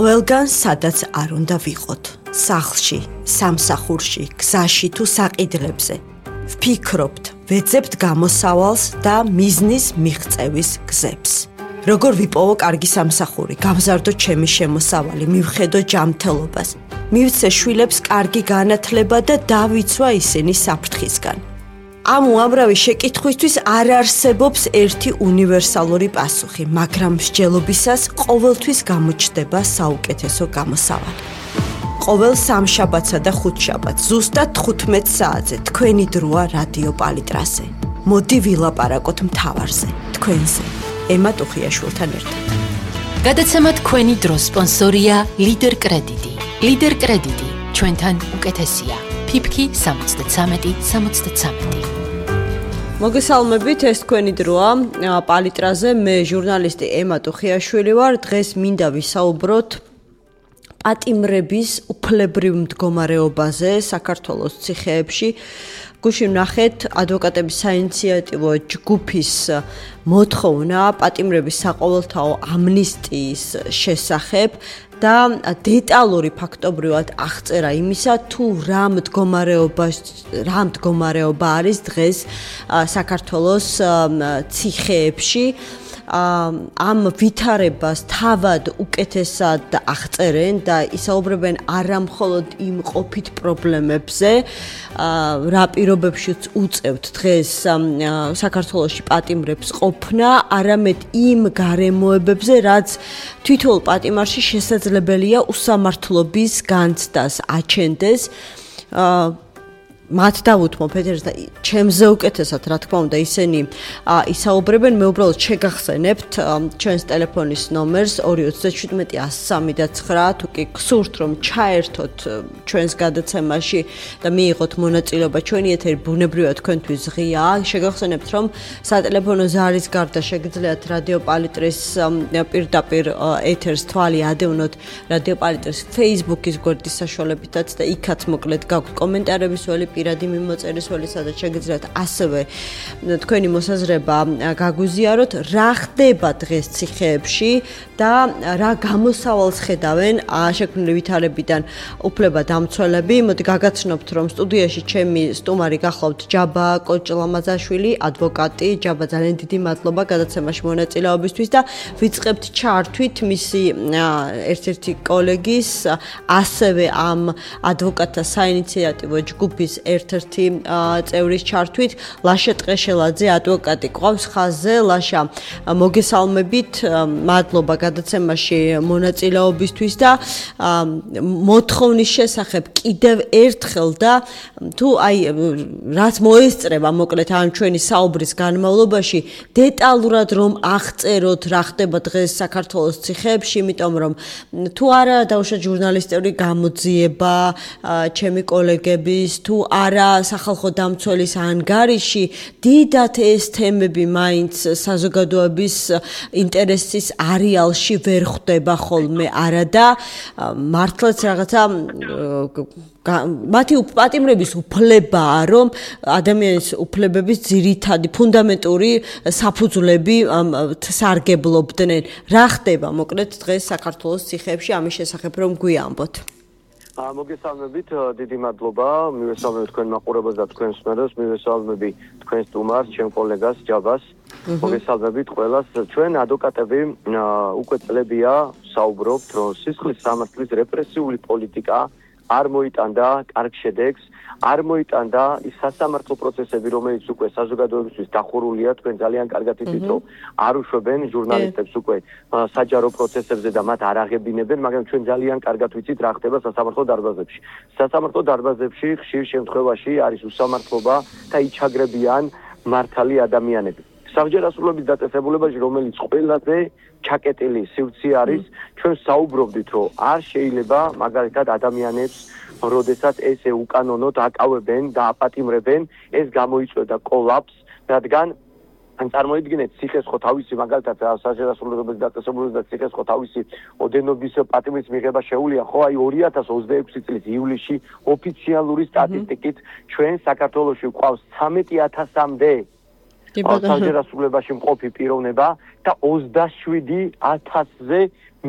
ყველგან სადაც არ უნდა ვიყოთ, სახლში, სამსახურში, გზაში თუ საყიდლებზე. ვფიქრობთ, ვეძებთ გამოსავალს და მიზნის მიღწევის გზებს. როგორ ვიპოვო კარგი სამსახური, გავზარდო ჩემი შემოსავალი, მივხედო ჯანმრთელობას, მივცე შვილებს კარგი განათლება და დავიცვა ისინი საფრთხისგან. ამ უამრავი შეკითხვისთვის არ არსებობს ერთი უნივერსალური პასუხი, მაგრამ მსჯელობისას ყოველთვის გამოჩნდება საუკეთესო გამოსავალი. ყოველ სამშაბათსა და ხუთშაბათს, ზუსტად 15 საათზე, თქვენი დროა რადიო პალიტრაზე. მოდი ვილაპარაკოთ მთავარზე, თქვენზე, ემა ტუხიაშვილთან ერთად. გადაცემა თქვენი დროს სპონსორია ლიდერ კრედიტი. ლიდერ კრედიტი, ჩვენთან უკეთესია. ფიფქი 73-73. მოგესალმებით, ეს თქვენი დროა პალიტრაზე. მე ჟურნალისტი ემა ტუხიაშვილი ვარ. დღეს მინდა ვისაუბროთ პატიმრების უფლებრივ მდგომარეობაზე საქართველოს ციხეებში. გუშინ ვნახეთ ადვოკატების საინიციატივო ჯგუფის მოთხოვნა პატიმრების საყოველთაო ამნისტიის შესახებ და დეტალური ფაქტობრივად აღწერა იმისა, თუ რა მდგომარეობა არის დღეს საქართველოს ციხეებში. ამ ვითარებას თავად უკეთესად აღწერენ და ისაუბრებენ არა მხოლოდ იმ ყოფით პრობლემებზე, რა პირობებშიც უწევთ დღეს საქართველოში პატიმრებს ყოფნა, არამედ იმ გარემოებებზე, რაც თითოეულ პატიმარში შესაძლებელია უსამართლობის განცდას აჩენდეს. მათ დავუთმობ ეთერს და ჩემზე უკეთესად, რა თქმა უნდა, ისინი ისაუბრებენ. მე უბრალოდ შეგახსენებთ ჩვენს ტელეფონის ნომერს 217-103-9. თუ კი გსურთ, რომ ჩაერთოთ ჩვენს გადაცემაში და მიიღოთ მონაწილეობა, ჩვენი ეთერი ბუნებრივად თქვენთვის ღიაა. შეგახსენებთ, რომ სატელეფონო ზარის გარდა შეგიძლიათ რადიო პალიტრის პირდაპირ ეთერს თვალი ადევნოთ რადიო პალიტრის Facebook-ის გვერდის საშუალებითაც და იქაც მოკლედ გაქვთ კომენტარების ველი, პირადი მიმოწერის ველი, სადაც შეგიძლიათ ასევე თქვენი მოსაზრება გაგვიზიაროთ, რა ხდება დღეს ციხეებში და რა გამოსავალს ხედავენ შექმნილი ვითარებიდან უფლებადამცველები. მოდი გაგაცნობთ, რომ სტუდიაში ჩემი სტუმარი გახლავთ ჯაბა კოჭლამაძაშვილი, ადვოკატი. ჯაბა, ძალიან დიდი მადლობა გადაცემაში მონაწილეობისთვის და ვიწყებთ ჩართვით მისი ერთ-ერთი კოლეგის, ასევე ამ ადვოკატთა საინიციატივო ჯგუფის ერთ-ერთი წევრის ჩართვით. ლაშა ტყეშელაძე, ადვოკატი ყავს ხაზზე. ლაშა, მოგესალმებით, მადლობა გადაცემაში მონაწილეობისთვის და მოთხოვნის შესახებ კიდევ ერთხელ და თუ რაც მოესწრება მოკლედ ამ ჩვენი საუბრის განმავლობაში, დეტალურად რომ აღწეროთ რა ხდება დღეს საქართველოს ციხეებში, იმიტომ რომ თუ არა დაუშვათ ჟურნალისტური გამოძიება ჩემი კოლეგების, თუ არა სახალხო დამცველის ანგარიში, დიდად ეს თემები მაინც საზოგადოების ინტერესის არეალში ვერ ხვდება ხოლმე არადა მართლაც რაღაცა მათი პატიმრების უფლებაა, რომ ადამიანის უფლებების ძირითადი ფუნდამენტური საფუძვლები სარგებლობდნენ. რა ხდება მოკლედ დღეს საქართველოს ციხეებში, ამის შესახებ რომ გვიამბოთ. მოგესალმებით, დიდი მადლობა. მივესალმებ თქვენ მაყურებელს და თქვენ მსმენელს, მივესალმები თქვენ სტუმარს, ჩემ კოლეგას ჯაბას. მოგესალმებით ყველას. ჩვენ ადვოკატები უკვე წლებია საუბრობთ, რომ სისხლის სამართლის რეპრესიული პოლიტიკა არ მოიტანდა კარგ შედეგს, არ მოიტანდა ის სასამართლო პროცესები, რომელიც უკვე საზოგადოებისთვის დახურულია. თქვენ ძალიან კარგად იცით, რომ არ უშვებენ ჟურნალისტებს უკვე საჯარო პროცესებზე და მათ არ აღებინებენ, მაგრამ ჩვენ ძალიან კარგად ვიცით, რა ხდება სასამართლო დარბაზებში. სასამართლო დარბაზებში ხშირ შემთხვევაში არის უსამართლობა და იჩაგრებიან მართალი ადამიანები. საბჭოთა სრულობის დაწესებულებაში, რომელიც ყველაზე ჩაკეტილი სივრცე არის, ჩვენ საუბრობდით, რომ არ შეიძლება მაგალითად ადამიანებს, როდესაც ესე უკანონოდ აკავებენ და აპატიმრებენ, ეს გამოიწვევდა კოლაპს, რადგან წარმოიდგინეთ, ციხეს ხო თავისი მაგალითად საბჭოთა სრულობის დაწესებულებაში და ციხეს ხო თავისი ოდენობის პატიმრის მიღება შეუძლია, ხო აი 2026 წლის ივლისში ოფიციალური სტატისტიკით ჩვენ საქართველოში გვყავს 13,000-მდე საბჭოთა სრულობაში მყოფი პიროვნება და 27,000-ზე